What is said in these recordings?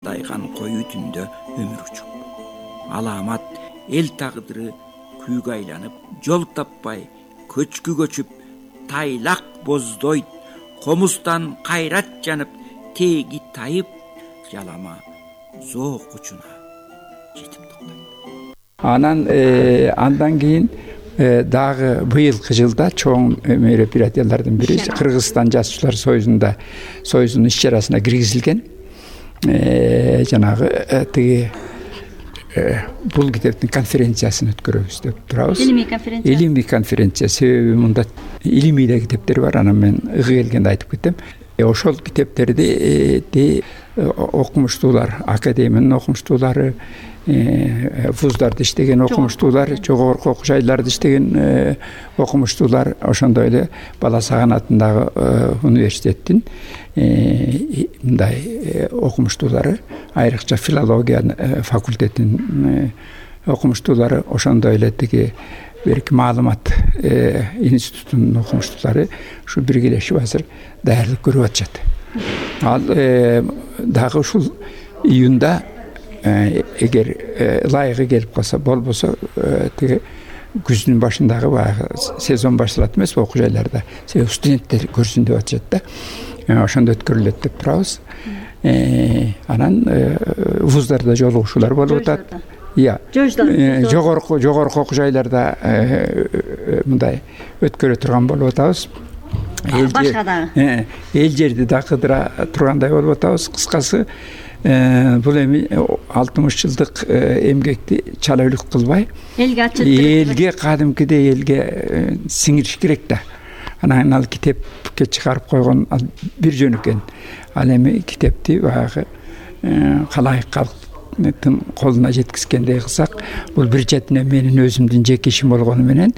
дайган коюу түндө өмүр учуп, аламат эл тагдыры күйгө айланып, жол таппай көчкү көчүп, тайлак боздойт, комуздан кайрат жанып, теги тайып, жалама зоок учуна жетип токтойт. Андан кийин дагы быйылкы жылда чоң мероприятиялардын бири Кыргызстан жазуучулар союзунун иш-чарасына киргизилген. Жанагы тиги бул китептин конференциясын өткөрөбүз деп турабыз. Илимий конференция. Себеби мында илимий да китептер бар. Анан мен ыгы келгенде айтып кетем. Ошол китептерди окумуштуулар, академиянын окумуштуулары, вуздарда иштеген окумуштуулар, жогорку окуу жайларда иштеген окумуштуулар, ошондой эле Бала Саган атындагы университеттин мындай окумуштуулары, айрыкча филология факультетинин окумуштуулары, ошондой эле тиги берки маалымат институтунун окумуштуулары ушу биргелешип азыр даярдык көрүп атышат. Ал дагы ушул июнда эгер ылайыгы келип калса, болбосо тиги күздүн башындагы баягы сезон башталат эмес окуу жайларда. Себеби студенттер көрсүн деп атышат да. Ошондо өткөрүлөт деп турабыз. Анан вуздарда жолугушуулар болуп атат. Жогорку окуу жайларда мындай өткөрө турган болуп атабыз. Башка дагы. Эл жерди да кыдыра тургандай болуп атабыз. Кыскасы, бул эми 60 жылдык эмгекти чала үлүк кылбай, элге кадимкидей элге сиңириш керек да. Анан ал китепке чыгарып койгон бир жөн экен. Ал эми китепти баягы калайык калктын колуна жеткизгендей кылсак, бул бир четинен менин өзүмдүн жеке ишим болгону менен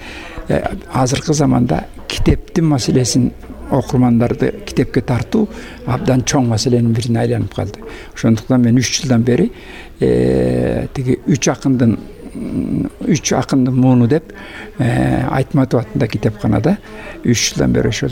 азыркы заманда китептин маселесин, окурмандарды китепке тартуу абдан чоң маселенин бирине айланып калды. Ошондуктан мен 3 жылдан бери тиги 3 акындын мууну деп Айтматов атында китепканада 3 жылдан бери ошол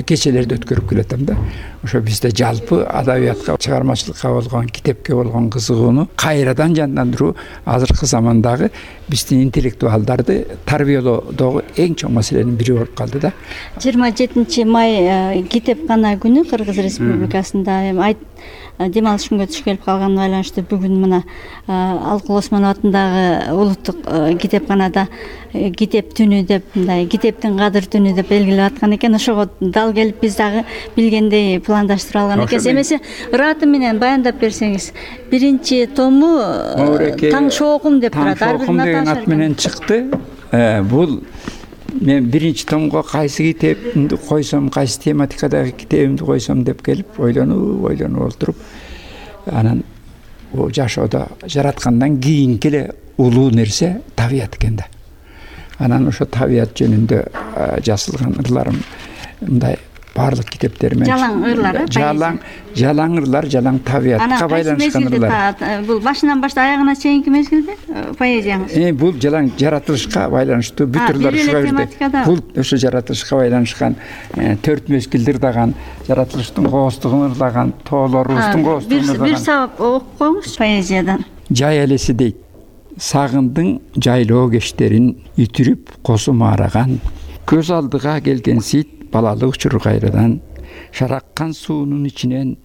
кечелерди өткөрүп келатам да. Ошо бизде жалпы адабиятка, чыгармачылыкка болгон, китепке болгон кызыгууну кайрадан жандандыруу азыркы замандагы биздин интеллектуалдарды тарбиялоодогу эң чоң маселенин бири болуп калды да. 27 май китепкана күнү Кыргыз Республикасында дем алыш күнгө туш келип калганына байланыштуу бүгүн мына Алкул Осмонов атындагы улуттук китепканада китеп түнү деп, мындай китептин кадыр түнү деп белгилеп аткан экен. Ошого дал келип биз дагы билгендей пландаштыра алган экенбиз. Эмесе ыраты менен баяндап берсеңиз, биринчи тому Таң шоокум деп турат. Таң шоокум деген ат менен чыкты. Бул мен биринчи томго кайсы китепимди койсом, кайсы тематикадагы китебимди койсом деп келип ойлонуп олтуруп, анан жашоодо жараткандан кийинки эле улуу нерсе табият экен да. Анан ошо табият жөнүндө жазылган ырларым мындай баардык китептеримен жалаң ырлар, жалаң ырлар, жалаң табиятка байланышкан ырлар. Бул башынан баштап аягына чейинки мезгилде поэзияңыз? Бул жалаң жаратылышка байланыштуу бүт ырлар ушуга кирди. Бул ошо жаратылышка байланышкан 4 мезгилди ырдаган, жаратылыштын кооздугун ырдаган, тоолорубуздун кооздугун ырдаган. Бир сабап окуп коюңуз поэзиядан. Жай элеси дейт. Сагындың жайлоо кечтерин үтүрүп косу маараган, көз алдыга келген сит балалык учур кайрадан, шараккан суунун ичинен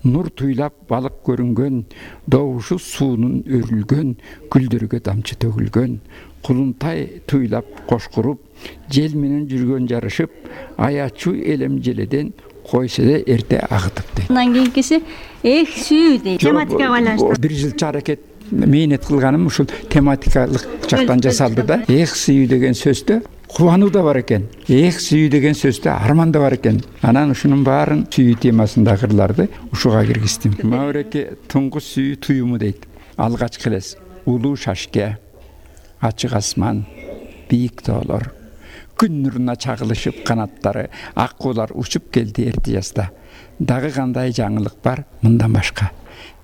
нур туйлап балык көрүнгөн, добушу суунун өрүлгөн, гүлдөргө тамчы төгүлгөн, кулунтай туйлап кошкуруп, жел менен жүргөн жарышып, аячу элем желеден койсо да эрте агытып дейт. Андан кийинкиси сүйүү дейт. Тематикага байланыштуу. Бир жылча аракет мээнет кылганым ушул тематикалык жактан жасалды да. Сүйүү деген сөздө кубануу да бар экен. Сүйүү деген сөздө арман да бар экен. Анан ушунун баарын сүйүү темасындагы ырларды ушуга киргиздим. Мауреке туңгуз сүйүү туюму дейт. Алгачкы элес улуу шашке, ачык асман, бийик тоолор, күн нуруна чагылышып канаттары, ак куулар учуп келди эрте жазда. Дагы кандай жаңылык бар мындан башка?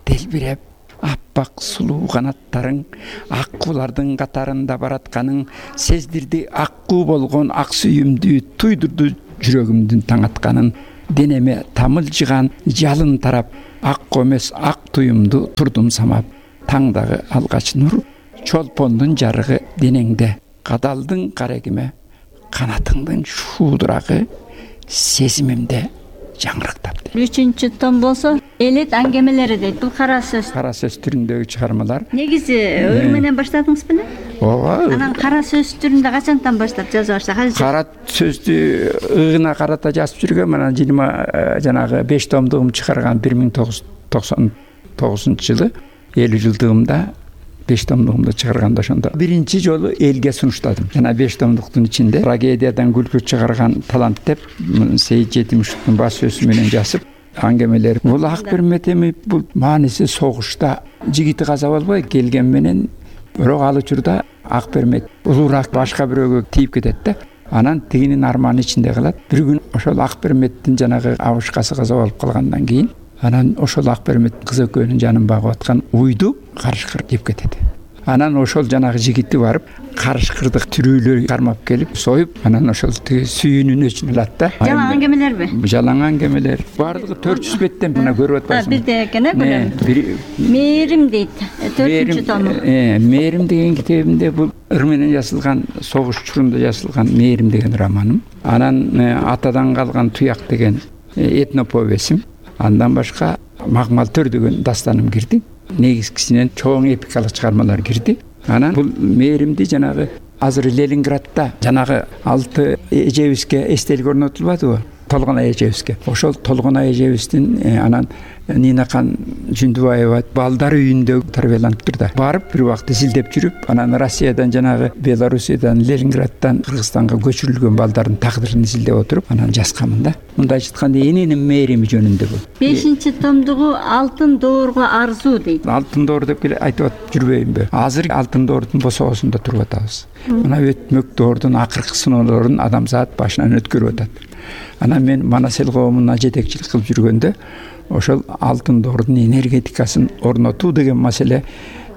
Делбиреп аппак сулуу канаттарың, ак куулардын катарында баратканың, сездирди аккуу болгон ак сүйүмдү, туйдурду жүрөгүмдүн таң атканын. денеме тамылжыган жалын тарап, ак комес ак туюмду турдум самап, таңдагы алгач нур, чолпондун жарыгы денеңде, кадалдың карегиме, канатыңдын шуудурагы сезимимде жаңырыктап. 3 том болсо элет аңгемелери дейт. Бул кара сөз. Кара сөз түрүндөгү чыгармалар. Негизи ыр менен баштадыңыз беле? Ооба. Анан кара сөз түрүндө качантан баштап жаза баштадыңыз? Кара сөздү ыгына карата жазып жүргөм. Анан 20 жанагы 5 томдугум чыгарган 1999-жылы 50 жылдыгымда 5 томдугумду чыгарганда ошондо биринчи жолу элге сунуштадым. Жана 5 томдуктун ичинде трагедиядан күлкү чыгарган талант деп Сейит Жетимишевдин баш сөзү менен жазып, аңгемелер. Бул ак бермет эми, бул мааниси согушта жигити каза болбой келген менен, бирок ал учурда ак бермет улуураак башка бирөөгө тийип кетет да. Анан тигинин арманы ичинде калат. Бир күн ошол ак берметтин жанагы абышкасы каза болуп калгандан кийин, анан ошол ак бермет кыз экөөнүн жанын багып аткан уйду карышкыр жеп кетет. Анан ошол жанагы жигити барып, карышкырды түрүүлөр кармап келип, союп, анан ошол сүйүүнүн өчүн алат да. Жалаң аңгемелерби? Жалаң аңгемелер. Бардыгы 400 беттен мына көрүп атпайсыңбы? Бирде экен көрөм. Мээрим дейт. 4-тому. Мээрим деген китебимде бул ыр менен жазылган, согуш учурунда жазылган Мээрим деген романым. Анан Атадан калган туяк деген этноповесим. Андан башка Магмал төр деген дастаным кирди. Негизгисинен чоң эпикалык чыгармалар кирди. Анан бул Мээримди жанагы азыр Ленинградда жанагы 6 эжебизге эстелик орнотулбадыбы? Толгонай эжебизге. Ошол Толгонай эжебиздин анан Нинакан Жүндүбаева балдар үйүндө тарбияланып турду. Барып бир убакта изилдеп жүрүп, анан Россиядан жанагы Белоруссиядан, Ленинграддан Кыргызстанга көчүрүлгөн балдардын тагдырын изилдеп отуруп, анан жазганмын да. Мындай айтканда эненин Мээрими жөнүндө бул. 5-томдугу Алтын доорго арзуу дейт. Алтын доор деп айтып жүрбөйүнбү? Азыр Алтын доордун босоосунда туруп атабыз. Мына өтмөк доордун акыркы сыноолорун адамзат башынан өткөрүп атат. Анан мен Манас эл коомуна жетекчилик кылып жүргөндө ошол алтын доордун энергетикасын орнотуу деген маселе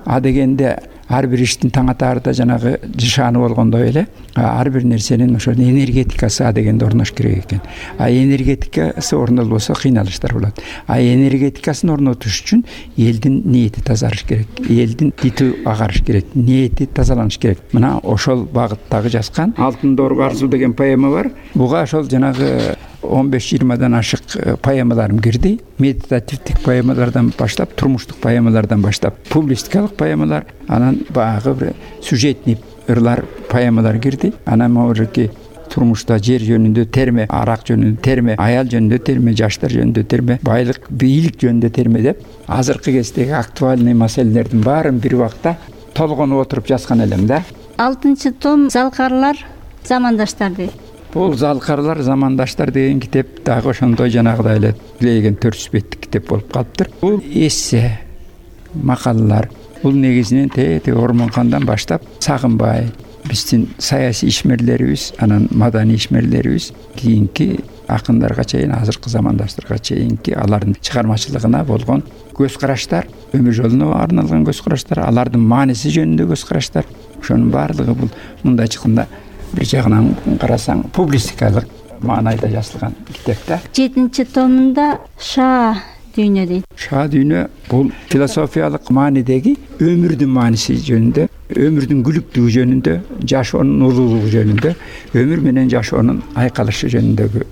дегенде ар бир иштин таң атаарда жанагы жышааны болгондой эле ар бир нерсенин ошол энергетикасы дегенде орнош керек экен. Энергетикасы орнолбосо кыйналыштар болот. Энергетикасын орнотуш үчүн элдин ниети тазарыш керек. Элдин дити агарыш керек. Ниети тазаланыш керек. Мына ошол багыттагы жазган Алтын доорго арзуу деген поэма бар. Буга ошол жанагы 15-20дан ашык поэмаларым кирди. Медитативдик поэмалардан баштап, турмуштук поэмалардан баштап, публистикалык поэмалар, анан багы бир сюжетный ырлар, поэмалар кирди. Анан могуки турмушта жер жөнүндө терме, арак жөнүндө терме, аял жөнүндө терме, жаштар жөнүндө терме, байлык, бийлик жөнүндө терме деп азыркы кездеги актуальный маселелердин баарын бир убакта толгонуп отуруп жазган элем да. 6-том Залкарлар замандаштар дейт. Бул Залкарлар замандаштар деген китеп дагы ошондой жанагыдай эле леген 400 беттик китеп болуп калыптыр. Бул эссе, макалалар. Бул негизинен тети Ормонкандан баштап Сагынбай, биздин саясий ишмерлерибиз, анан маданий ишмерлерибиз, кийинки акындарга чейин, азыркы замандаштарга чейинки алардын чыгармачылыгына болгон көз караштар, өмүр жолуна арналган көз караштар, алардын мааниси жөнүндө көз караштар. Ошонун баардыгы бул мындай чыкканда бир жагынан карасаң публистикалык маанайда жазылган китеп да. 7-томунда Ша дүйнө дейт. Ша дүйнө бул философиялык маанидеги өмүрдүн мааниси жөнүндө, өмүрдүн күлүктүгү жөнүндө, жашоонун улуулугу жөнүндө, өмүр менен жашоонун айкалышы жөнүндөгү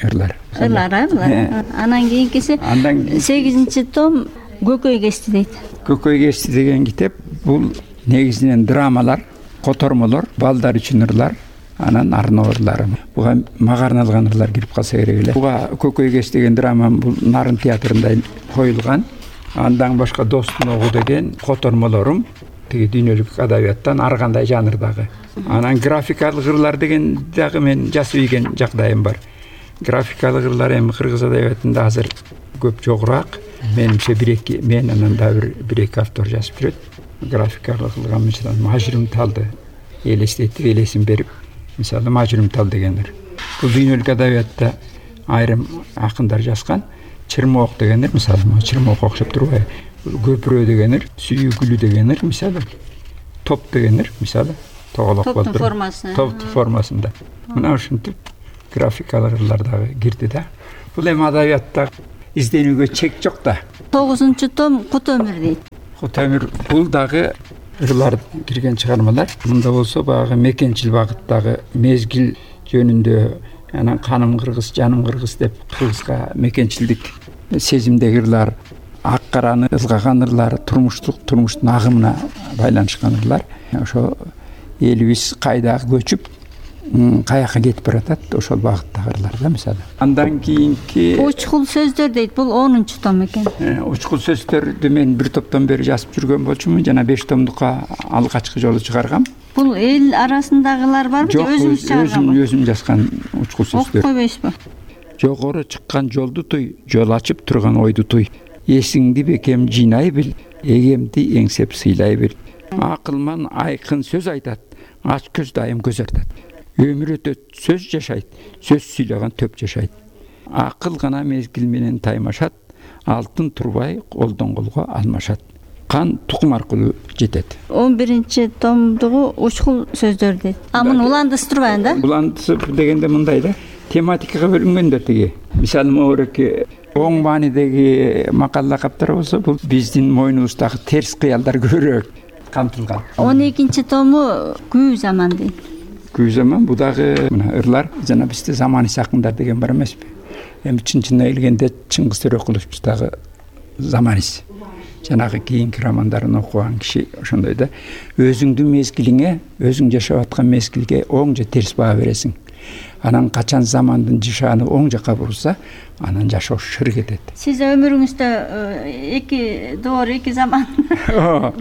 ырлар. Анан кийинкиси 8-том Көкөй кести дейт. Көкөй кести деген китеп бул негизинен драмалар, котормолор, балдар үчүн ырлар, анан арноо ырлары. Буга мага арналган ырлар кирип калса керек эле. Буга Көкөй кести деген драма бул Нарын театрында коюлган. Андан башка Достун огу деген котормолорум тиги дүйнөлүк адабияттан ар кандай жанрдагы. Анан графикалык ырлар деген дагы мен жазып ийген жагдайым бар. Графикалык ырлар эми кыргыз адабиятында азыр көп жогураак. Менимче 1-2 мен анан да 1-2 автор жазып жүрөт. Графикалык кылган мисалы Мажрум талды элестетип, элесин берип, мисалы Мажрум тал дегендер. Бул дүйнөлүк адабиятта айрым акындар жазган. Чырмоок дегендер, мисалы, чырмоокко окшоп турбайбы? Көпүрө дегендер, сүйүгүлү дегендер, мисалы. Топ дегендер, мисалы, тоголок болуп турат. Топ формасында. Мына ушинтип графикалык ырлар дагы кирди да. Бул эми адабиятта изденүүгө чек жок да. 9-том Кут өмүр дейт. Кут өмүр бул дагы ырлар кирген чыгармалар. Мында болсо баягы мекенчил багыттагы мезгил жөнүндө, анан каным кыргыз, жаным кыргыз деп кыргызга мекенчилдик сезимдеги ырлар, ак караны ылгаган ырлар, турмуштун агымына байланышкан ырлар. Ошо элибиз кайда көчүп, каяка кетип баратат, ошол багыттагы ырлар да мисалы. Андан кийинки Учкул сөздөр дейт. Бул 10-том экен. Учкул сөздөрдү мен бир топтон бери жазып жүргөн болчумун, жана 5 томдукка алгачкы жолу чыгаргам. Бул эл арасындагылар барбы же өзүңүз чыгарганбы? Өзүм жазган учкул сөздөр. Окуп койбойсузбу? Жогору чыккан жолду туй, жол ачып турган ойду туй. Эсиңди бекем жыйнай бил, эгемди эңсеп сыйлай бил. Акылман айкын сөз айтат, ач көз дайым көз артат. Өмүр өтөт, сөз жашайт, сөз сүйлөгөн төп жашайт. Акыл гана мезгил менен таймашат, алтын турбай колдон колго алмашат. Кан тукум аркылуу жетет. 11-томдугу учкул сөздөр дейт. Муну уландысы турбайбы да? Уландысы дегенде мындай да. Тематикага бөлүнгөндө тиги. Мисалы могуреки оң маанидеги макала каптар болсо, бул биздин мойнубуздагы терс кыялдар көбүрөөк камтылган. 12-тому күү заман дейт. Күү заман бул дагы мына ырлар жана бизде заманий акындар деген бар эмеспи? Эми чын-чынына келгенде Чыңгыз Төрөкуловчу дагы заманист. Жанагы кийинки романдарын окуган киши ошондой да. Өзүңдүн мезгилиңе, өзүң жашап аткан мезгилге оң же терс баа бересиң. Анан качан замандын жишааны оң жакка бурса, анан жашоо шыр кетет. Сиз өмүрүңүздө 2 доор, 2 заман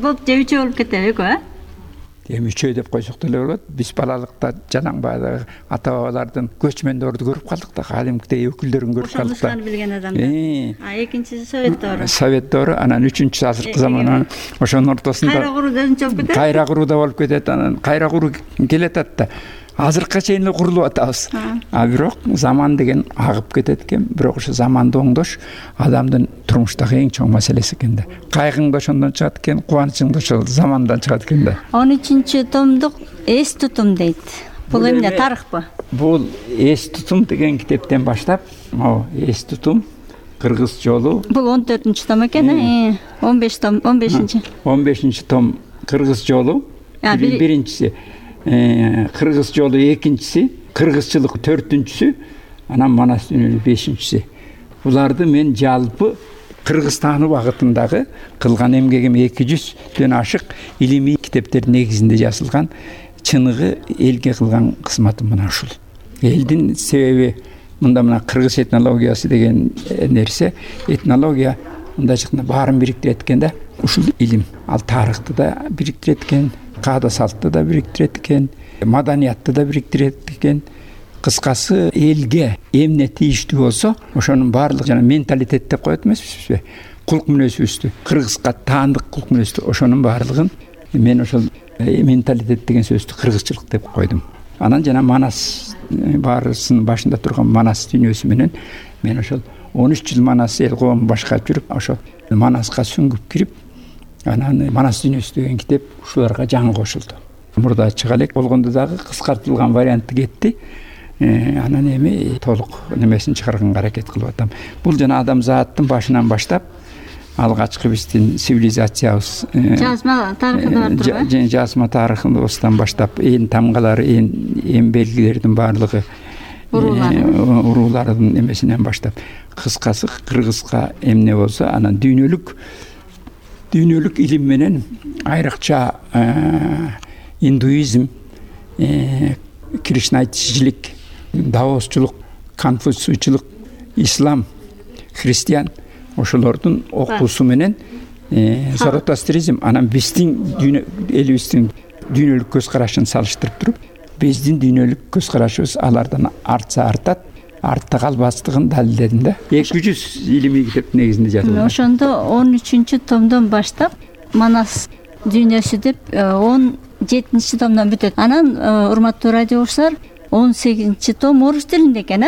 болуп же 3 болуп кетеби эко, Эми 3 деп койсок деле болот. Биз балалыкта жанаң баягы ата бабалардын көчмөндөрдү көрүп калдык да, кадимкидей өкүлдөрүн көрүп калдык да. Ошондуктан билген адамдар. Экинчиси Совет доору. Совет доору, анан 3-үчүсү азыркы заман. Ошонун ортосунда кайра куруу өзүнчө болуп кетет. Кайра куруу да болуп кетет, анан кайра куруу келатат да. Азыркыга чейин эле курулуп атабыз. Бирок заман деген агып кетет экен. Бирок ошо заманды оңдош адамдын турмуштагы эң чоң маселеси экен да. Кайгың да ошондон чыгат экен, кубанычың да ошол замандан чыгат экен да. 13-томдук эс тутум дейт. Бул эмне, тарыхпы? Бул эс тутум деген китептен баштап, могу эс тутум кыргыз жолу. Бул 14-том экен, 15-том, 15-чи. 15-том кыргыз жолу. Биринчиси кыргыз жолу, экинчиси кыргызчылык, 4-сү, анан манас дүйнөлүк 5-си. Буларды мен жалпы Кыргызстаны багытындагы кылган эмгегим 200дөн ашык илимий китептердин негизинде жазылган. Чыныгы элге кылган кызматым мына ушул. Элдин себеби мында мына кыргыз этнологиясы деген нерсе, этнология мындайча баарын бириктирет экен да. Ушул илим, ал тарыхты да бириктирет экен, каада салтты да бириктирет экен, маданиятты да бириктирет экен. Кыскасы элге эмне тийиштүү болсо, ошонун баардык жана менталитет деп коет эмеспизби? Кулк мүнөзүбүздү, кыргызга таандык кулк мүнөздү, ошонун баардыгын мен ошол менталитет деген сөздү кыргызчылык деп койдум. Анан жана манас, баарысынын башында турган манас дүйнөсү менен мен ошол 13 жыл манас эл коом башкарып жүрүп, ошол манаска сүңгүп кирип, анан манас дүйнөсү деген китеп ушуларга жаңы кошулду. Мурда чыга элек болгондо дагы кыскартылган варианты кетти. Анан эми толук немесин чыгарганга аракет кылып атам. Бул жана адамзаттын башынан баштап алгачкы биздин цивилизациябыз жазма тарыхы да бар турбайбы? Жазма тарыхыбыздан баштап ээн тамгалары, ээн белгилердин баардыгы, уруулардын эмесинен баштап, кыскасы кыргызга эмне болсо анан дүйнөлүк илим менен айрыкча индуизм, кришнаитичилик, даосчулук, конфуцийчулук, ислам, христиан ошолордун окуусу менен заратустризм, анан биздин элибиздин дүйнөлүк көз карашын салыштырып туруп, биздин дүйнөлүк көз карашыбыз алардан артса артат, артта калбастыгын далилдедим да. 200 илимий китеп негизинде жазылган. Ошондо 13-томдон баштап манас дүйнөсү деп 17-томдон бүтөт. Анан урматтуу радио угуучулар, 18-том орус тилинде экен,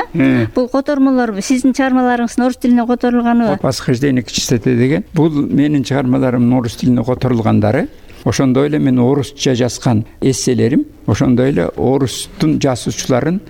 Бул котормолор сиздин чыгармаларыңыздын орус тилине которулганыбы? Восхождение к чистоте деген. Бул менин чыгармаларымдын орус тилине которулгандары. Ошондой эле мен орусча жазган эсселерим, ошондой эле орустун жазуучуларын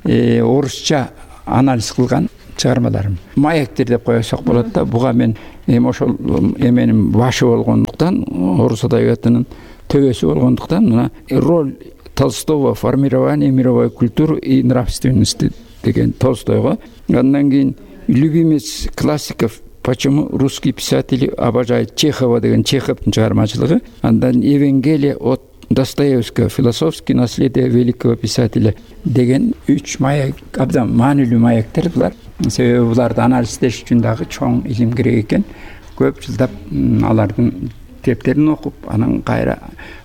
орусча анализ кылган чыгармаларым. Маектер деп коесок болот да. Буга мен ошол эменин башы болгондуктан, орус адабиятынын төбөсү болгондуктан мына роль Толстого в формировании мировой культуры и нравственности деген Толстойго. Андан кийин любимец классиков, почему русские писатели обожают Чехова деген Чеховдун чыгармачылыгы. Андан Евангелие от Достоевского, философские наследия великого писателя деген 3 маяк, абдан маанилүү маектер булар. Себеби буларды анализдеш үчүн дагы чоң илим керек экен. Көп жылдап алардын китептерин окуп, анан кайра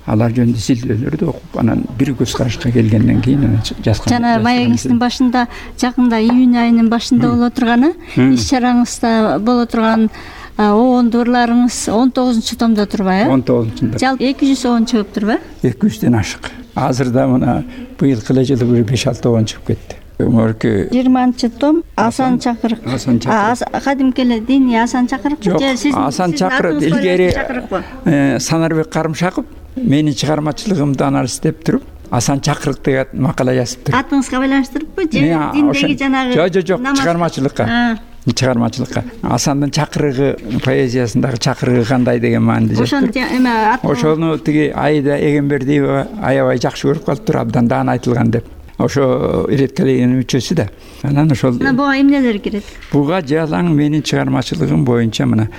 алар жөнүндө изилдөөлөрдү окуп, анан бир көз карашка келгенден кийин жазган. Жана маегиңиздин башында жакында июнь айынын башында боло турганы, иш чараңызда боло турган оондурларыңыз 19 томдо турбайбы? 19-да. Жалпы 200 оон чыгып турбайбы? 200ден ашык. Азырда мына быйылкы эле жылы бир 5-6 оон чыгып кетти. Мөркү 20-том Асан Чакырык. Кадимки эле диний Асан Чакырык же сиз? Асан Чакырык илгери Санарбек Карымшаков менин чыгармачылыгымды анализдеп туруп, Асан Чакырык деген макала жазып туруп. Атыңызга байланыштырыппы же диндеги жанагы? Жок, чыгармачылыкка. Асандын чакырыгы поэзиясындагы чакырыгы кандай деген мааниде жазып. Ошону тиги Айда Эгембердиева аябай жакшы көрүп калыптыр, абдан даана айтылган деп. Ошо иреткелегенин мүчөсү да. Анан ошол буга эмнелер кирет? Буга жалаң менин чыгармачылыгым боюнча мына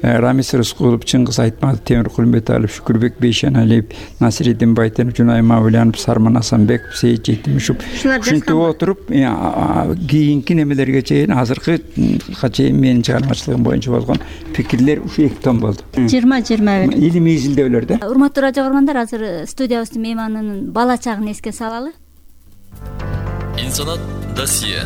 Рамис Рыскулов, Чыңгыз Айтматов, Темир Кулмбеталиев, Шүкүрбек Бейшеналиев, Насириддин Байтенов, Жунай Мавлянов, Сарман Асанбеков, Сейит Жетимишев ушинтип отуруп, кийинки немелерге чейин азыркыга чейин менин чыгармачылыгым боюнча болгон пикирлер ушу 2 том болду. 20-21 илимий изилдөөлөр да. Урматтуу радио көргөндөр, азыр студиябыздын мейманынын бала чагын эске салалы. Инсанат досье.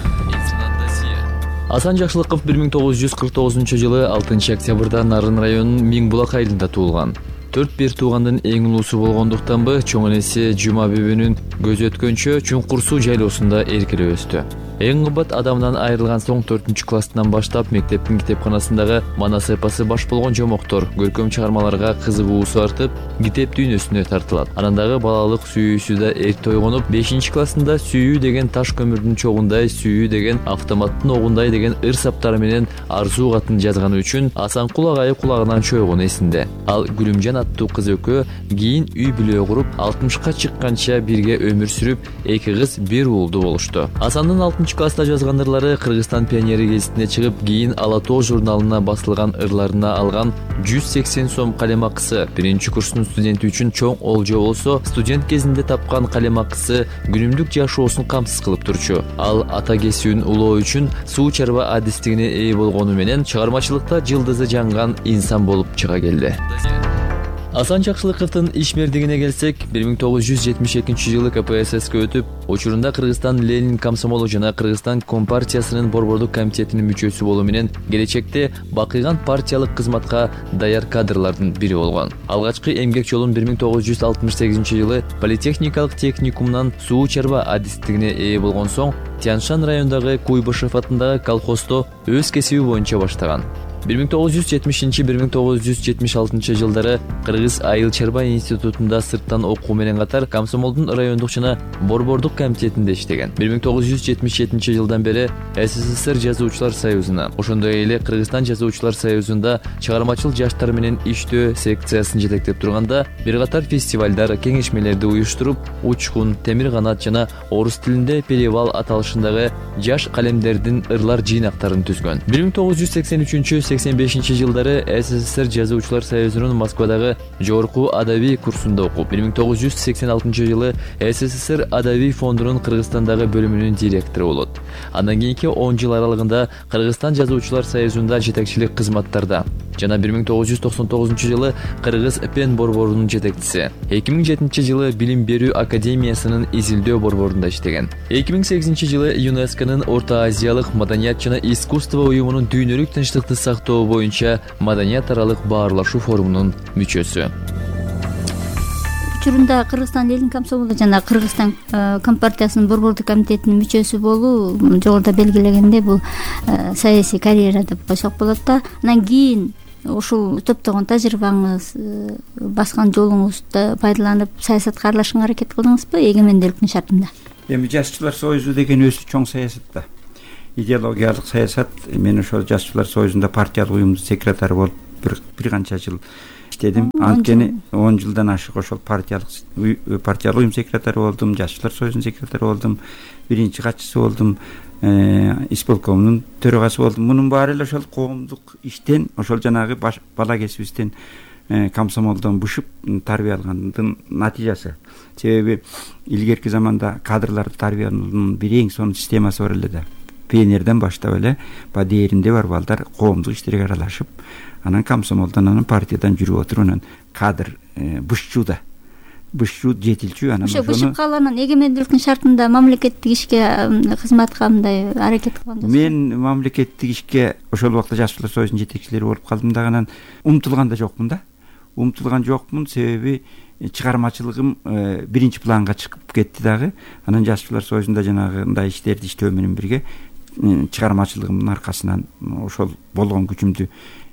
Асан Жакшылыков 1949-жылы 6 октябрда Нарын районунун Миңбулак айылында туулган. 4 туугандын эң улуусу болгондуктанбы, чоң энеси Жума бебинин көзү өткөнчө Чуңкур суу жайлоосунда эркелеп өстү. Эң кымбат адамдан айрылган соң 4-класстан баштап мектептин китепканасындагы манас эпосы баш болгон жомоктор, көркөм чыгармаларга кызыгуусу артып, китеп дүйнөсүнө тартылат. Анан дагы балалык сүйүүсү да эрте ойгонуп, 5-классында Сүйүү деген таш көмүрдүн чогундай, Сүйүү деген автоматтын огундай деген ыр саптары менен арзуу катын жазганы үчүн Асанкул агайы кулагынан чойгону эсинде. Ал Гүлүмжан аттуу кыз экөө кийин үй бүлө куруп, 60-ка чыкканча бирге өмүр сүрүп, 2 кыз, 1 уулду болушту. Асандын 6-класста жазган ырлары Кыргызстан пионери гезитине чыгып, кийин Ала Тоо журналына басылган ырларына алган 180 сом калемакысы биринчи курстун студенти үчүн чоң олжо болсо, студент кезинде тапкан калемакысы күнүмдүк жашоосун камсыз кылып турчу. Ал ата кесүүнүн улоо үчүн суу чарба адистигине ээ болгону менен чыгармачылыкта жылдызы жанган инсан болуп чыга келди. Асан Жакшылыковдун ишмердигине келсек, 1972-жылы КПССке өтүп, учурунда Кыргызстан Ленин комсомолу жана Кыргызстан Компартиясынын борбордук комитетинин мүчөсү болуу менен келечекте бакыйган партиялык кызматка даяр кадрлардын бири болгон. Алгачкы эмгек жолун 1968-жылы Политехникалык техникумунан суу чарба адистигине ээ болгон соң, Тяншан районундагы Куйбышев атындагы колхоздо өз кесиби боюнча баштаган. 1970-1976 жылдары Кыргыз Айыл чарба институтунда сырттан окуу менен катар комсомолдун райондук жана борбордук комитетинде иштеген. 1977 жылдан бери СССР жазуучулар союзуна, ошондой эле Кыргызстан жазуучулар союзунда чыгармачыл жаштар менен иштөө секциясын жетектеп турганда, бир катар фестивалдар, кеңешмелерди уюштуруп, Учкун, Темир канат жана орус тилинде Перевал аталышындагы жаш калемдердин ырлар жыйнактарын түзгөн. 1983-85 жылдары СССР жазуучулар союзунун Москвадагы жогорку адабий курсунда окуп, 1986 жылы СССР адабий фондунун Кыргызстандагы бөлүмүнүн директору болот. Андан кийинки 10 жыл аралыгында Кыргызстан жазуучулар союзунда жетекчилик кызматтарда жана 1999 жылы Кыргыз Пен борборунун жетекчиси. 2007 жылы Билим берүү академиясынын изилдөө борборунда иштеген. 2008 жылы ЮНЕСКОнун Орто Азиялык маданият жана искусство уюмунун дүйнөлүк тынчтыкты сактоо боюнча маданият аралык баарлашуу форумунун мүчөсү. Учурунда Кыргызстан Ленин комсомолу жана Кыргызстан Компартиясынын борбордук комитетинин мүчөсү болуу жогоруда белгилегендей бул саясий карьера деп койсок болот да. Анан кийин ушул топтогон тажрыйбаңыз, баскан жолуңузду пайдаланып саясатка аралашканга аракет кылдыңызбы эгемендүүлүктүн шартында? Эми Жазуучулар союзу деген өзү чоң саясат да. идеологиялык саясат, мен ошол жашчылар союзунда партиялык уюмдун секретары болуп бир канча жыл иштедим. Анткени 10 жылдан ашык ошол партиялык уюм секретары болдум, жашчылар союзунун секретары болдум, биринчи катчысы болдум, исполкомдун төрагасы болдум. Мунун баары эле ошол коомдук иштен, ошол жанагы бала кезибизден комсомолдон бушуп тарбия алгандын натыйжасы. Себеби илгерки заманда кадрларды тарбиянын бир эң сонун системасы бар эле да. Пионерден баштап эле дээринде бар балдар коомдук иштерге аралашып, анан комсомолдон, анан партиядан жүрүп отуруп, анан кадр бышчу жетилчү, анан ошо бышып калганын эгемендүүлүктүн шартында мамлекеттик ишке кызматка мындай аракет кылгандыр. Мен мамлекеттик ишке ошол убакта жашчылар союзунун жетекчилери болуп калдым да, анан умтулган да жокмун да. Умтулган жокмун, себеби чыгармачылыгым биринчи планга чыгып кетти дагы. Анан жашчылар союзунда жанагындай иштерди иштөө менен бирге чыгармачылыгымдын аркасынан ошол болгон күчүмдү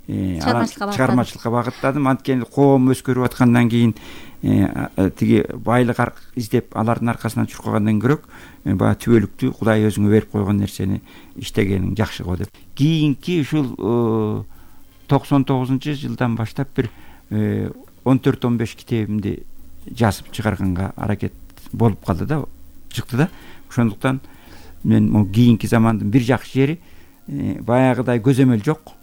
чыгармачылыкка багыттадым. Анткени коом өскөрүп аткандан кийин тиги байлык издеп алардын аркасынан чуркагандан көрөк баягы түбөлүктүү Кудай өзүңө берип койгон нерсени иштегениң жакшы го деп. Кийинки ушул 99-жылдан баштап бир 14-15 китебимди жазып чыгарганга аракет болуп калды да, чыкты да. Ошондуктан мен могу кийинки замандын бир жакшы жери баягыдай көзөмөл жок.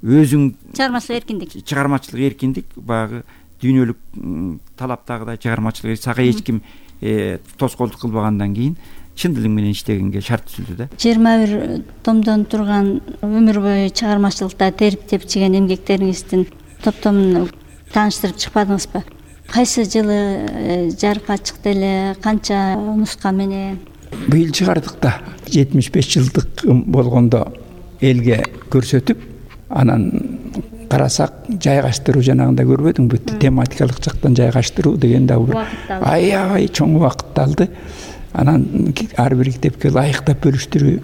Өзүң чыгармачылык эркиндик, баягы дүйнөлүк талаптагыдай чыгармачылык сага эч ким тоскоолдук кылбагандан кийин чын дилиң менен иштегенге шарт түзүлдү да. 21 томдон турган өмүр бою чыгармачылыкта терип тепчиген эмгектериңиздин топтомун тааныштырып чыкпадыңызбы? Кайсы жылы жарыкка чыкты эле, канча нуска менен? Быйыл чыгардык да. 75 жылдык болгондо элге көрсөтүп, анан карасак жайгаштыруу жанагында көрбөдүңбү? Тематикалык жактан жайгаштыруу деген да аябай чоң убакытты алды. Анан ар бир китепке ылайыктап бөлүштүрүү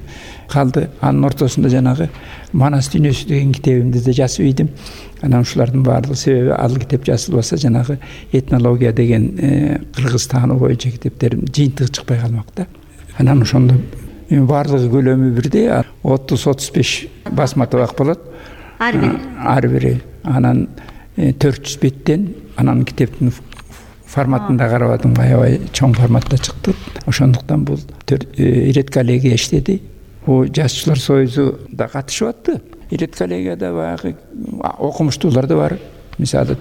калды. Анын ортосунда жанагы Манас дүйнөсү деген китебимди да жазып ийдим. Анан ушулардын баардыгы, себеби ал китеп жазылбаса жанагы этнология деген кыргыз таануу боюнча китептерим жыйынтыгы чыкпай калмак да. Анан ошондо баардыгы көлөмү бирдей 30-35 басма табак болот. Ар бири. Анан 400 беттен, анан китептин форматында карабадым, аябай чоң форматта чыкты. Ошондуктан бул редколлегия иштеди. Бул жашчылар союзу да катышып атты. Редколлегияда баягы окумуштуулар да бар. Мисалы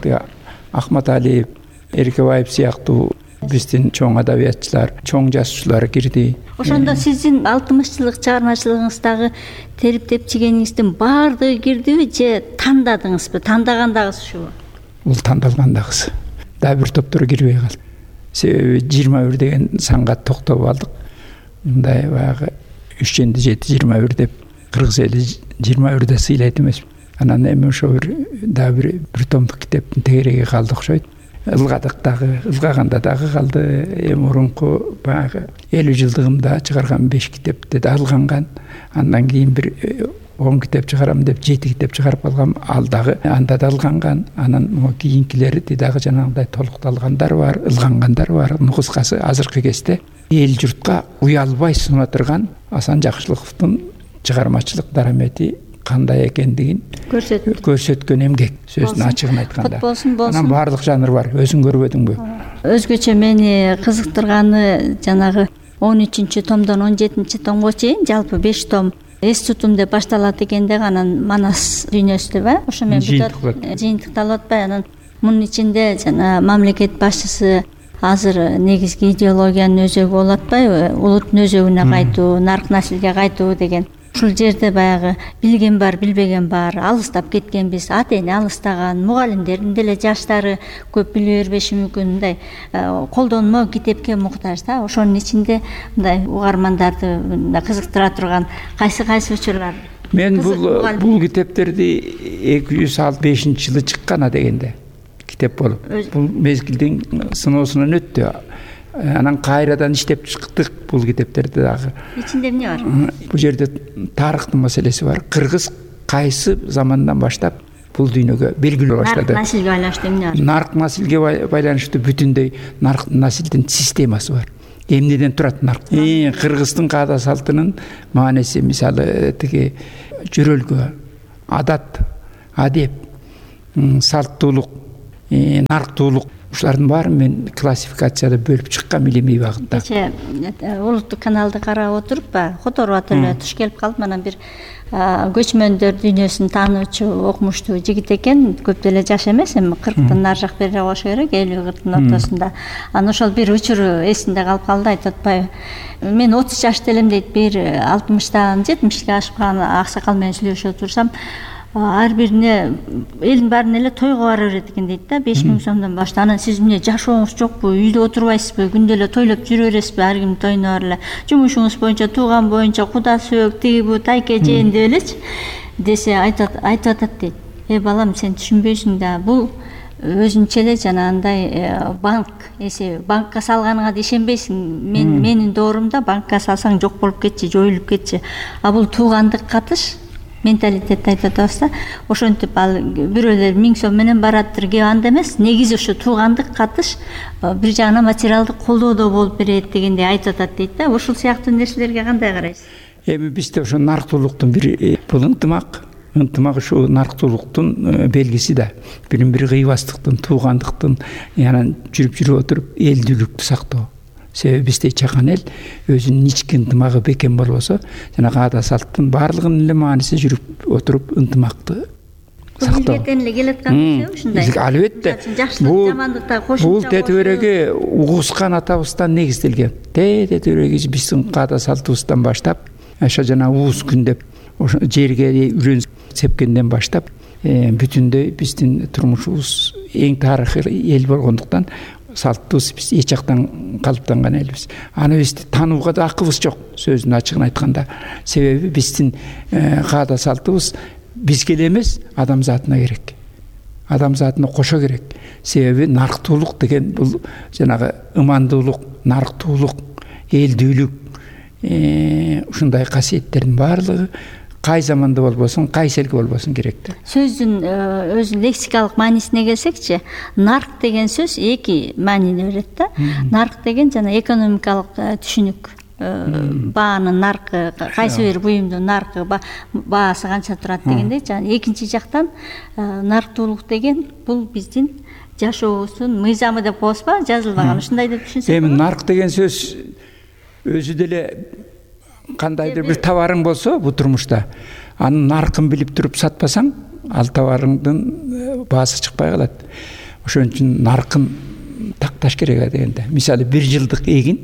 Ахмат Алиев, Эркебаев сыяктуу биздин чоң адабиятчылар, чоң жазуучулар кирди. Ошондо сиздин 60 жылдык чыгармачылыгыңыздагы терип тепчигениңиздин баардыгы кирдиби же тандадыңызбы? Тандагандагы ушубу? Бул тандалгандагысы. Да бир топтор кирбей калды. Себеби 21 деген санга токтоп алдык. Мындай баягы 3-7-21 деп кыргыз эли 21 сыйлайт эмес. Анан эми ошо бир томдук китептин тегереги калды окшойт. Ылгадык дагы, ылгаганда дагы калды. Эми мурунку баягы 50 жылдыгымда чыгарган 5 китепти да алганган. Андан кийин бир 10 китеп чыгарам деп 7 китеп чыгарып алгам. Ал дагы анда да алганган. Анан могу кийинкилери дагы жанагындай толукталгандар бар, ылгангандар бар. Кыскасы азыркы кезде эл журтка уялбай суна турган Асан Жакшылыковдун чыгармачылык дарамети кандай экендигин көрсөткөн эмгек, сөздүн ачыгын айтканда. Анан баардык жанр бар, өзүң көрбөдүңбү? Өзгөчө мени кызыктырганы жанагы 13-томдон 17-томго чейин жалпы 5 том эстутум деп башталат экен да, анан Манас дүйнөсү деп, ошо менен бүтөт, жыйынтыкталып атпай. Анан мунун ичинде жана мамлекет башчысы азыр негизги идеологиянын өзөгү болуп атпайбы? Улуттун өзөгүнө кайтуу, нарк наслге кайтуу деген. Ушул жерде баягы билген бар, билбеген бар, алыстап кеткенбиз, ата эне алыстаган, мугалимдердин деле жаштары көп биле бербеши мүмкүн, мындай колдонмо китепке муктаж да. Ошонун ичинде мындай угармандарды кызыктыра турган кайсы учурлар? Мен бул китептерди 265-жылы чыккан дегенде китеп болуп, бул мезгилдин сыноосунан өттү. Анан кайрадан иштеп чыктык бул китептерди дагы. Ичинде эмне бар? Бул жерде тарыхтын маселеси бар. Кыргыз кайсы замандан баштап бул дүйнөгө белгилүү баштады. Нарк наслге байланыштуу эмне бар? Нарк наслге байланыштуу бүтүндөй нарк наслдин системасы бар. эмнеден турат нарк? Кыргыздын каада салтынын мааниси мисалы тиги жөрөлгө, адат, адеп, салттуулук, нарктуулук ушулардын баарын мен классификацияда бөлүп чыккам илимий багытта. Кече улуттук каналды карап отуруп которуп атып эле туш келип калдым. Анан бир көчмөндөр дүйнөсүн таануучу, окумуштуу жигит экен. Көп деле жаш эмес, эми 40тан нары жак бери болуш керек, 50-40 ортосунда. Анан ошол бир учуру эсимде калып калды, айтып атпайбы. Мен 30 жашта элем дейт, бир 60тан 70ке ашкан аксакал менен сүйлөшүп отурсам, ар бирине элдин баарына эле тойго бара берет экен дейт да, 5000 сомдон баштап. Анан сиз эмне жашооңуз жокпу, үйдө отурбайсызбы, күндө эле тойлоп жүрө бересизби, ар кимдин тоюна бар эле, жумушуңуз боюнча, тууган боюнча, куда сөөк, тиги бу, тайке жээн деп элечи десе айтып атат дейт. Балам, сен түшүнбөйсүң да, бул өзүнчө эле жанагындай банк эсеби. Банкка салганыңа да ишенбейсиң. Менин доорумда банкка салсаң жок болуп кетчи, жоюлуп кетчи. А бул туугандык катыш менталитетти айтып атабыз да. Ошентип ал бирөөлөр 1000 сом менен бараттыр, кеп анда эмес. Негизи ошо туугандык катыш бир жагынан материалдык колдоодо болуп берет дегендей айтып атат дейт да. Ушул сыяктуу нерселерге кандай карайсыз? Эми бизде ошо нарктуулуктун бир бул ынтымак ушу нарктуулуктун белгиси да. Бирин бири кыйбастыктын, туугандыктын, анан жүрүп отуруп элдүүлүктү сактоо. Себеби бизде чакан эл өзүнүн ички ынтымагы бекем болбосо, жана каада салттын баардыгынын эле мааниси жүрүп отуруп ынтымакты сактоо. Илгертен эле келаткан ушундай. Албетте. Бул тетибереги угускан атабыздан негизделген. Тетибереги биздин каада салтыбыздан баштап, ошо жана уус күн деп ошо жерге үрөн сепкенден баштап, бүтүндөй биздин турмушубуз эң тарыхый эл болгондуктан салттыбыз биз эч жактан калыптанган элбиз. Аны бизди таанууга да акыбыз жок, сөздүн ачыгын айтканда. Себеби биздин каада салтыбыз бизге эле эмес, адамзатына керек. Адамзатына кошо керек. Себеби нарктуулук деген бул жанагы ымандуулук, нарктуулук, элдүүлүк, ушундай касиеттердин баардыгы кай заманда болбосун, кайсы элге болбосун керек да. Сөздүн өзүнүн лексикалык маанисине келсекчи, нарк деген сөз эки маанини берет да. Нарк деген жана экономикалык түшүнүк. Баанын наркы, кайсы бир буюмдун наркы, баасы канча турат дегендей. Жана экинчи жактан нарктуулук деген бул биздин жашообуздун мыйзамы деп коебузбу, жазылбаган, ушундай деп түшүнсөк. Эми нарк деген сөз өзү деле кандайдыр бир товарың болсо бул турмушта, анын наркын билип туруп сатпасаң, ал товарыңдын баасы чыкпай калат. Ошон үчүн наркын такташ керек дегенде. Мисалы 1 жылдык эгин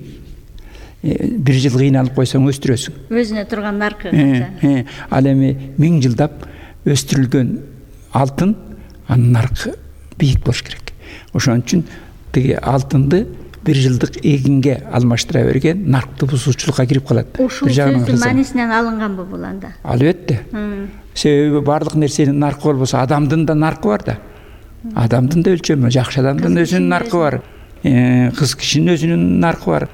1 жыл кыйналып койсоң өстүрөсүң. Өзүнө турган наркы канча. Ал эми 1000 жылдап өстүрүлгөн алтын, анын наркы бийик болуш керек. Ошон үчүн тиги алтынды 1 жылдык эгинге алмаштыра берген наркты бузуучулукка кирип калат. Ушул сөздүн маанисинен алынганбы бул анда? Албетте. Себеби баардык нерсенин наркы болбосо, адамдын да наркы бар да. Адамдын да өлчөмү, жакшы адамдын өзүнүн наркы бар. Кыз кишинин өзүнүн наркы бар.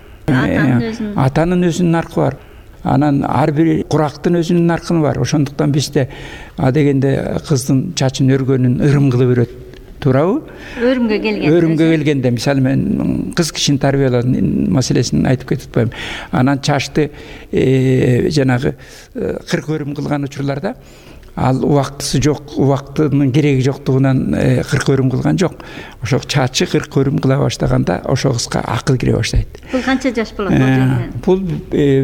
Атанын өзүнүн наркы бар. Анан ар бир курактын өзүнүн наркы бар. Ошондуктан бизде дегенде кыздын чачын өргөнүн ырым кылып берет. Туурабы? Өрүмгө келгенде, мисалы мен кыз кишини тарбиялоонун маселесин айтып кетип атпайм. Анан чачты жанагы 40 өрүм кылган учурларда ал убактысы жок, убактынын кереги жоктугунан 40 өрүм кылган жок. Ошо чачы 40 өрүм кыла баштаганда ошо кызга акыл кире баштайт. Бул канча жаш болот? Бул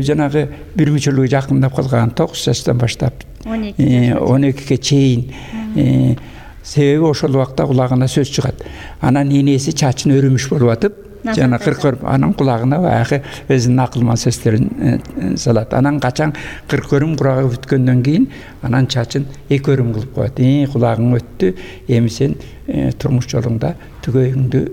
жанагы бир мүчөлүгү жакындап калган 9 жаштан баштап 12ге чейин. Себеби ошол убакта кулагына сөз чыгат. Анан энеси чачын өрүмүш болуп атып, жана 40 өрүм, анан кулагына баягы өзүнүн акылман сөздөрүн салат. Анан качан 40 өрүм курагы бүткөндөн кийин, анан чачын 2 өрүм кылып коет. Кулагың өттү, эми сен турмуш жолуңда түгөйүңдү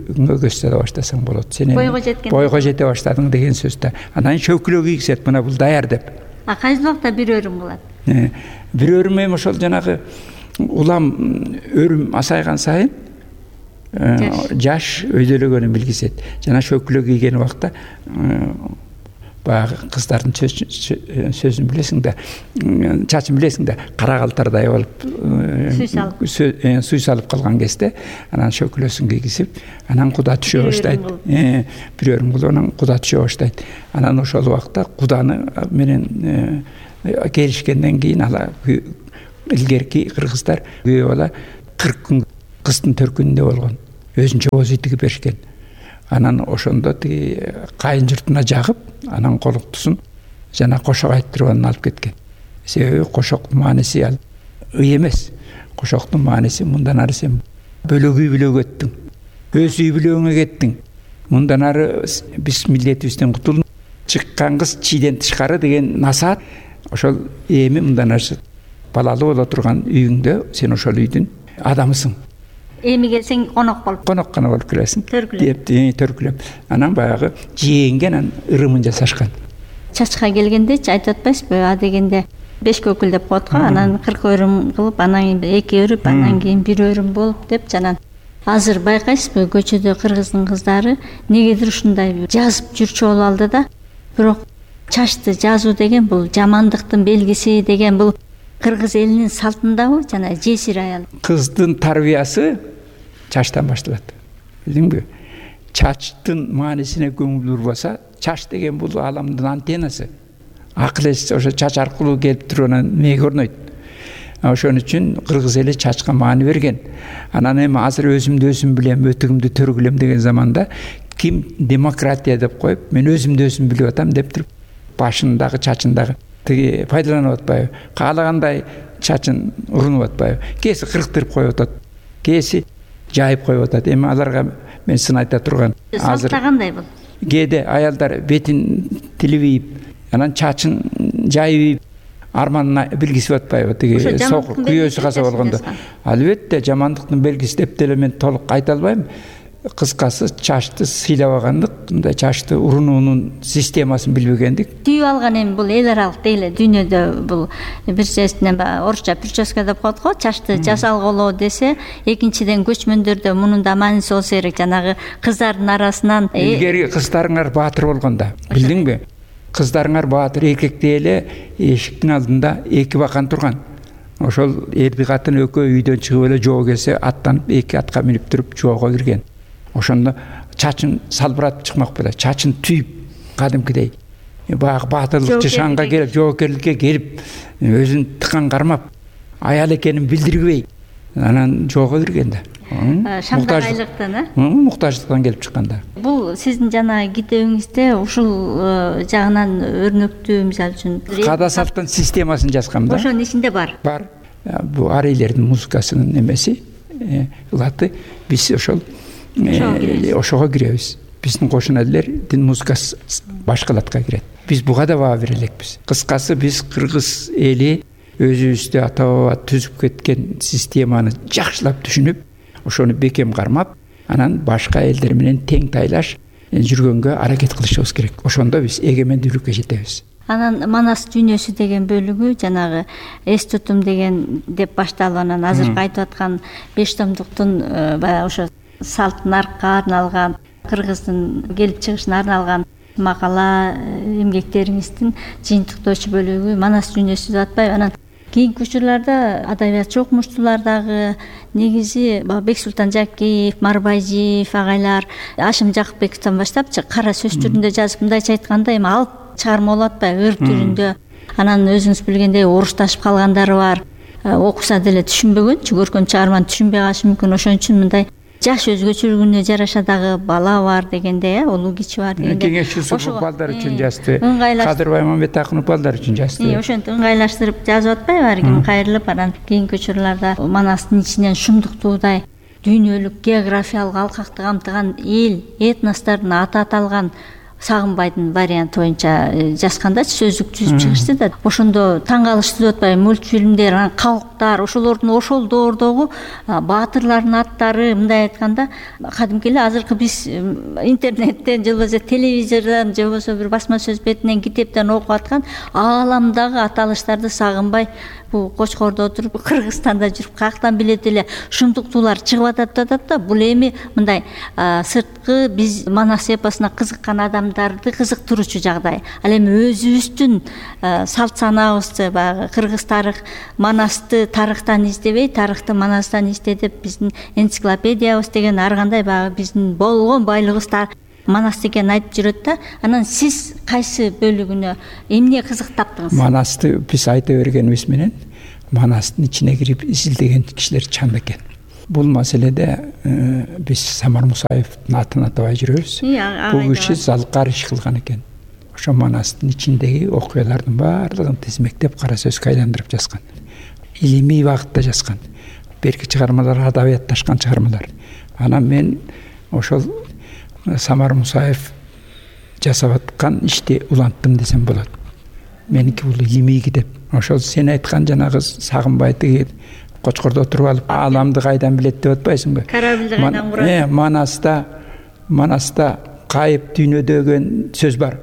көз сала баштасаң болот. Сен бойго жете баштадың деген сөз да. Анан шөкүлө кийгизет, мына бул даяр деп. Кайсы убакта 1 өрүм кылат? 1 өрүм эми ошол жанагы улам өрүм асайган сайын жаш өйдөлөгөнүн билгизет. Жана шөкүлө кийген убакта баягы кыздардын сөзүн билесиң да, чачын билесиң да, кара калтардай болуп суй салып калган кезде анан шөкөлөсүн кийгизип, анан куда түшө баштайт. Бир өрүм кылып анан куда түшө баштайт. Анан ошол убакта куданы менен келишкенден кийин ала илгерки кыргыздар күйөө бала 40 күн кыздын төркүнүндө болгон. Өзүнчө боз үй тигип беришкен. Анан ошондо тиги кайын журтуна жагып, анан колуктусун жана кошок айттырып анан алып кеткен. Себеби кошоктун мааниси ал ый эмес. Кошоктун мааниси мындан ары сен бөлөк үй бүлөгө өттүң. Өз үй бүлөгүңө кеттиң. Мындан ары биз милдетибизден кутулдук. Чыккан кыз чийден тышкары деген насаат. Ошол эми мындан ары балалуу боло турган үйүңдө сен ошол үйдүн адамысың. Эми келсең конок гана болуп келесиң. Төркүлөп. Анан баягы жээнге анан ырымын жасашкан. Чачка келгендечи айтып атпайсызбы? А дегенде 5 көкүл деп коет го. Анан 40 өрүм кылып, анан 2 өрүп, анан кийин 1 өрүм болуп деп жанан. Азыр байкайсызбы, көчөдө кыргыздын кыздары негедир ушундай жазып жүрчү болуп алды да. Бирок чачты жазуу деген бул жамандыктын белгиси деген бул кыргыз элинин салтындабы жана жесир аял. Кыздын тарбиясы чачтан башталат. Билдиңби? Чачтын маанисине көңүл бурбаса, чач деген бул аламдын антеннасы. Акыл эс ошо чач аркылуу келип туруп анан мээге орнойт. Ошон үчүн кыргыз эли чачка маани берген. Анан эми азыр өзүм билем, өтүгүмдү төргүлөм деген заманда ким демократия деп коюп, мен өзүм билип атам деп туруп, башындагы чачындагы тиги пайдаланып атпайбы? Каалагандай чачын урунуп атпайбы? Кээси кырктырып коюп атат, кээси жайып коюп атат. Эми аларга мен сын айта турган. Азыр кандай бул? Кээде аялдар бетин тилибип, анан чачын жайып, арманына белгисип атпайбы? Тиги күйөөсү каза болгондо. Албетте жамандыктын белгиси деп деле мен толук айта албайм. Кыскасы чачты сыйлабагандык, мындай чачты урунуунун системасын билбегендик. Түйүп алган эми бул эл аралык дейле дүйнөдө бул бир чесинен орусча прическа деп коет го, чачты жасалголоо десе, экинчиден көчмөндөрдө мунун да мааниси болсо керек, жанагы кыздардын арасынан илгери кыздарыңар баатыр болгондо, билдиңби? Кыздарыңар баатыр, эркекте эле эшиктин алдында 2 бакан турган. Ошол эрди катын экөө үйдөн чыгып эле жоо келсе, аттанып 2 атка минип туруп жоого кирген. Ошондо чачын салбыратып чыкмак беле, чачын түйүп кадимкидей баягы баатырлыкчы шаңга келип, жоокерликке келип, өзүн тыкан кармап, аял экенин билдирбей, анан жоого кирген да. Шамдагайлыктан, муктаждыктан келип чыкканда. Бул сиздин жана китебиңизде ушул жагынан өрнөктүү, мисалы үчүн Кадасовдун системасын жазгам да. Ошонун ичинде бар. Бар. Бул арейлердин музыкасынын эмеси, ылаты биз ошол ошого киребиз. Биздин кошун элдердин музыкасы башка латка кирет. Биз буга да баа бере элекпиз. Кыскасы биз кыргыз эли өзүбүздө ата-баба түзүп кеткен системаны жакшылап түшүнүп, ошону бекем кармап, анан башка элдер менен тең тайлаш жүргөнгө аракет кылышыбыз керек. Ошондо биз эгемендүүлүккө жетебиз. Анан Манас дүйнөсү деген бөлүгү жанагы эс тутум деген деп башталып, анан азыркы айтып аткан 5 томдуктун баягы ошо салт наркка арналган, кыргыздын келип чыгышына арналган макала эмгектериңиздин жыйынтыктоочу бөлүгү Манас дүйнөсү деп атпайбы? Анан кийинки учурларда адабиятчы окумуштуулар дагы негизи Бексултан Жакиев, Марбайжиев агайлар, Ашим Жакыпбековдон баштапчы кара сөз түрүндө жазып, мындайча айтканда эми алып чыгарма болуп атпайбы, ыр түрүндө. Анан өзүңүз билгендей орушташып калгандары бар. Окуса деле түшүнбөгөнчү, көркөм чыгарманы түшүнбөй калышы мүмкүн. Ошон үчүн мындай жаш өзгөчөлүгүнө жараша дагы бала бар дегенде, улуу кичи бар дегенде. Кеңешчи балдар үчүн жазды. Кадыр Баймамбетакунов балдар үчүн жазды. Ошентип ыңгайлаштырып жазып атпайбы, ар ким кайрылып, анан кийинки учурларда Манастын ичинен шундуктуудай дүйнөлүк географиялык алкакты камтыган эл, этностордун аты аталган Сагынбайдын варианты боюнча жазгандачы сөздүк түзүп чыгышты да. Ошондо таң калыштуу деп атпайбы, мультфильмдер, анан калктар, ошолордун ошол доордогу баатырлардын аттары, мындай айтканда кадимки эле азыркы биз интернеттен же болбосо телевизордон же болбосо бир басма сөз бетинен, китептен окуп аткан ааламдагы аталыштарды Сагынбай бул Кочкордо отуруп Кыргызстанда жүрүп каяктан билет эле ушундуктуулар чыгып атат да. Бул эми мындай сырткы биз Манас эпосуна кызыккан адамдарды кызыктыруучу жагдай. Ал эми өзүбүздүн салт санаабызды баягы кыргыз тарых Манасты тарыхтан издебей, тарыхты Манастан изде деп биздин энциклопедиябыз деген ар кандай баягы биздин болгон байлыгыбыз Манас экенин айтып жүрөт да. Анан сиз кайсы бөлүгүнө эмне кызык таптыңыз? Манасты биз айта бергенибиз менен Манастын ичине кирип изилдеген кишилер чам экен. Бул маселеде биз Самар Мусаевдин атын атабай жүрөбүз. Бул киши залкар иш кылган экен. Ошо Манастын ичиндеги окуялардын баардыгын тизмектеп кара сөзгө айландырып жазган. Илимий багытта жазган. Берки чыгармалар адабиятташкан чыгармалар. Анан мен ошол Самар Мусаев жасап аткан ишти уланттым десем болот. Меники бул илимий китеп. Ошол сен айткан жанагы Сагынбай тиги Кочкордо отуруп алып ааламды кайдан билет деп атпайсыңбы? Корабльди кайдан курат? Манаста кайып дүйнө деген сөз бар.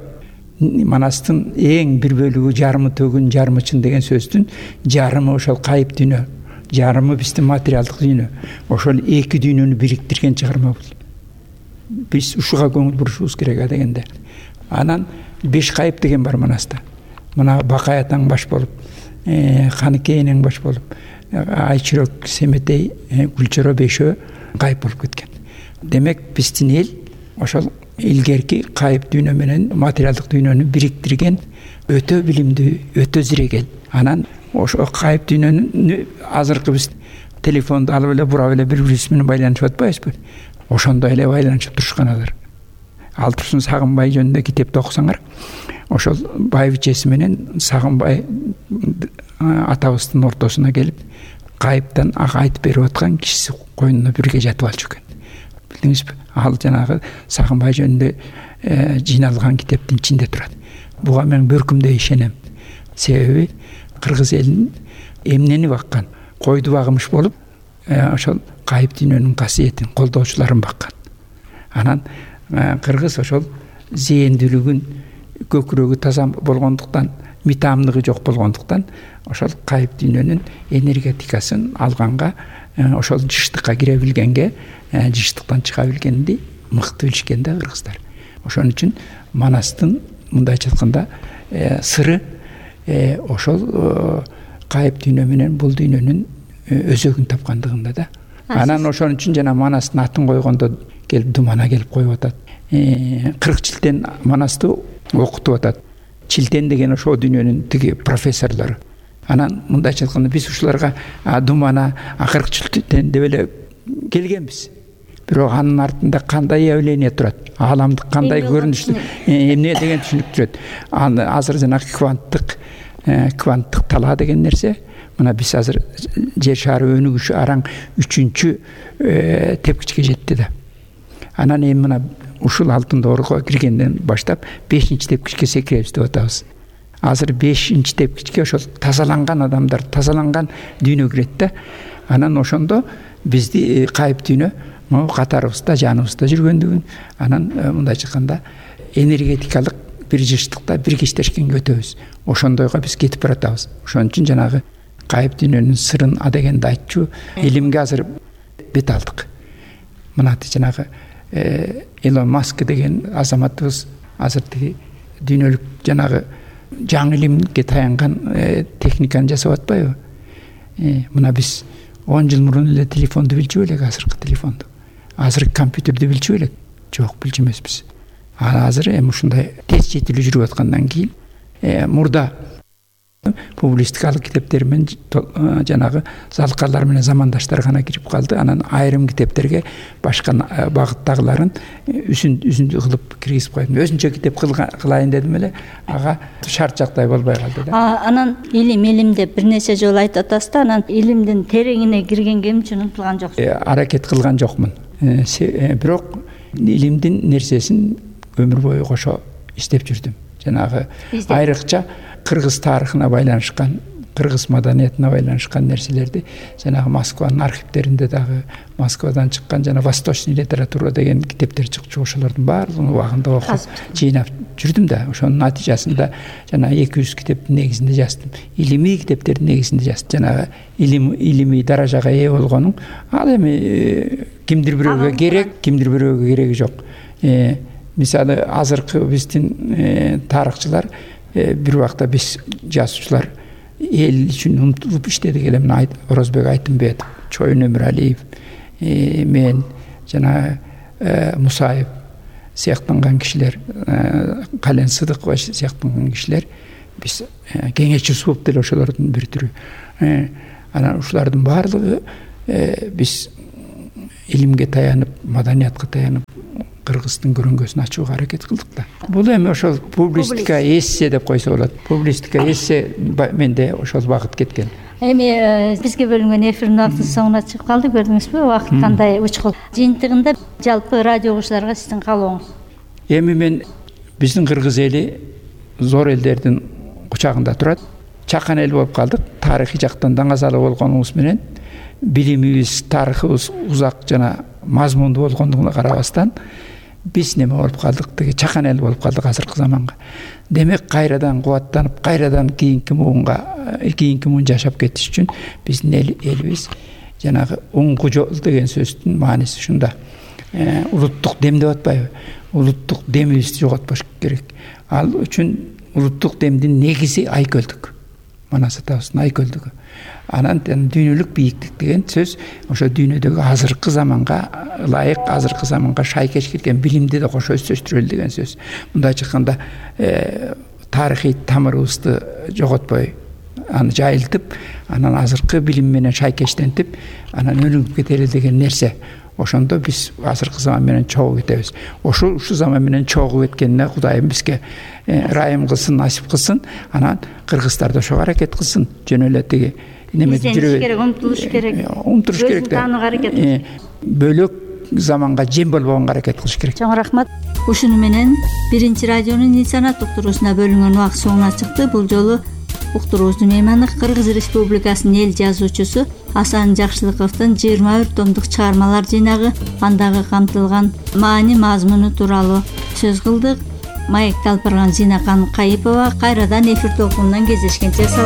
Манастын эң бир бөлүгү жарымы төгүн, жарымы чын деген сөздүн жарымы ошол кайып дүйнө, жарымы биздин материалдык дүйнө. Ошол эки дүйнөнү бириктирген чыгарма бул. Биз ушуга көңүл бурушубуз керек дегенде. Анан 5 кайып деген бар Манаста. Мына Бакай атаң баш болуп, Каныкей энең баш болуп, Айчүрөк, Семетей, Гүлчөрө бешөө кайып болуп кеткен. Демек биздин эл ошол илгерки кайып дүйнө менен материалдык дүйнөнү бириктирген өтө билимдүү, өтө зирек эл. Анан ошо кайып дүйнөнү азыркы биз телефонду алып эле бурап эле бири-бирибиз менен байланышып атпайбызбы? Ошондой эле байланышып турушкан алар. Ал турсун Сагынбай жөнүндө китепти окусаңар, ошол байбичеси менен Сагынбай атабыздын ортосуна келип, кайыптан айтып берип аткан кишиси койнуна бирге жатып алчу экен. Билдиңизби? Ал жанагы Сагынбай жөнүндө жыйналган китептин ичинде турат. Буга мен бөркүмдөй ишенем. Себеби кыргыз элинин эмнени баккан, койду багымыш болуп, ошол кайып дүйнөнүн касиетин, колдоочуларын баккан. Анан кыргыз ошол зээндүүлүгүн, көкүрөгү таза болгондуктан, митамдыгы жок болгондуктан, ошол кайып дүйнөнүн энергетикасын алганга, ошол жыштыкка кире билгенге, жыштыктан чыга билгенди мыкты билишкен да кыргыздар. Ошон үчүн Манастын мындайча айтканда сыры ошол кайып дүйнө менен бул дүйнөнүн өзөгүн тапкандыгында да. Анан ошон үчүн жана Манастын атын койгондо келип Думана келип коюп атат. 40 жылтен Манасты окутуп атат. Чилтен деген ошол дүйнөнүн тиги профессорлору. Анан мындайча айтканда биз ушуларга Думана 40 жылтен деп эле келгенбиз. Бирок анын артында кандай явление турат? Ааламдык кандай көрүнүштү эмне деген түшүнүк турат. Азыр жанагы кванттык талаа деген нерсе. Мына биз азыр жер шары өнүгүшү араң 3-чү тепкичке жетти да. Анан эми мына ушул алтын доорго киргенден баштап 5-чи тепкичке секиребиз деп атабыз. Азыр 5-чи тепкичке ошол тазаланган адамдар, тазаланган дүйнө кирет да. Анан ошондо бизди кайып дүйнө катарыбызда, жаныбызда жүргөндүгүн, анан мындайча айтканда энергетикалык бир жыштыкта биргештешкенге өтөбүз. Ошондойго биз кетип баратабыз. Ошон үчүн жанагы кайып дүйнөнүн сырын адегенде айтчу илимге азыр бет алдык. Мына жанагы Элон Маск деген азаматыбыз азыр тиги дүйнөлүк жанагы жаңы илимге таянган техниканы жасап атпайбы? Мына биз 10 жыл мурун эле телефонду билчү элек, азыркы телефонду. Азыр компьютерди билчү элек? Жок, билчү эмеспиз. Азыр эми ушундай тез жетилүү жүрүп аткандан кийин мурда публистикалык китептер менен жанагы залкарлар менен замандаштар гана кирип калды. Анан айрым китептерге башка багыттагыларын үзүндү кылып киргизип койдум. Өзүнчө китеп кылайын дедим эле, ага шарт жактай болбой калды да. Анан илим деп бир нерсе жолу айтып атасыз да, анан илимдин тереңине киргенге эмче умтулган жоксуз? Аракет кылган жокмун. Бирок илимдин нерсесин өмүр бою кошо издеп жүрдүм. Жанагы айрыкча кыргыз тарыхына байланышкан кыргыз маданиятына байланышкан нерселерди жанагы Москванын архивдеринде дагы Москвадан чыккан жана восточный литература деген китептер чыкчу, ошолордун баардыгын убагында окуп жыйнап жүрдүм да. Ошонун натыйжасында жана 200 китептин негизинде жаздым. Илимий китептердин негизинде жаздым. Жанагы илимий даражага ээ болгонун ал эми кимдир бирөөгө керек, кимдир бирөөгө кереги жок. Мисалы азыркы биздин тарыхчылар бир убакта биз жазуучулар эл үчүн умтулуп иштедик эле. Мына Орозбек Айтымбетов, Чоюн Өмүралиев, мен жана Мусаев сыяктанган кишилер, Кален Сыдыкова сыяктанган кишилер биз кеңешчи суп деле ошолордун бир түрү. Анан ушулардын баардыгы биз илимге таянып, маданиятка таянып кыргыздын көрүнгөсүн ачууга аракет кылдык да. Бул эми ошол публистика эссе деп койсо болот. Публистика эссе менде ошол багыт кеткен. Эми бизге бөлүнгөн эфирдин убактысы соңуна чыгып калды, көрдүңүзбү? Убакыт кандай учкул. Жыйынтыгында жалпы радио угуучуларга сиздин каалооңуз? Эми мен биздин кыргыз эли зор элдердин кучагында турат. Чакан эл болуп калдык. Тарыхый жактан даңазалуу болгонубуз менен билимибиз, тарыхыбыз узак жана мазмундуу болгондугуна карабастан биз неме болуп калдык, деги чакан эл болуп калдык азыркы заманга. Демек кайрадан кубаттанып, кайрадан кийинки муун жашап кетиш үчүн биздин элибиз жанагы уңгу жол деген сөздүн мааниси ушунда. Улуттук дем деп атпайбы? Улуттук демибизди жоготпош керек. Ал үчүн улуттук демдин негизи айкөлдүк. Манас атабыздын айкөлдүгү. Анан дүйнөлүк бийиктик деген сөз ошо дүйнөдөгү азыркы заманга ылайык, азыркы заманга шайкеш келген билимди да кошо өстүрөлү деген сөз. Мындайча айтканда тарыхый тамырыбызды жоготпой, аны жайылтып, анан азыркы билим менен шайкештентип, анан өнүгүп кетели деген нерсе. Ошондо биз азыркы заман менен чогуу кетебиз. Ушу заман менен чогуу кеткенине Кудайым бизге ырайым кылсын, насип кылсын. Анан кыргыздар да ошого аракет кылсын. Жөн эле тиги немеде жүрүп керек, умтулуш керек. Умтулуш керек да. Таанууга аракет кылыш. Бөлөк заманга жем болбогонго аракет кылыш керек. Чоң рахмат. Ушуну менен биринчи радионун инсанат уктуруусуна бөлүнгөн убакыт соңуна чыкты. Бул жолу уктуруубуздун мейманы Кыргыз Республикасынын эл жазуучусу Асан Жакшылыковдун 21 томдук чыгармалар жыйнагы, андагы камтылган маани мазмуну тууралуу сөз кылдык. Маекти алып барган Зинакан Кайыпова. Кайрадан эфир толкунунан кездешкенче саламат.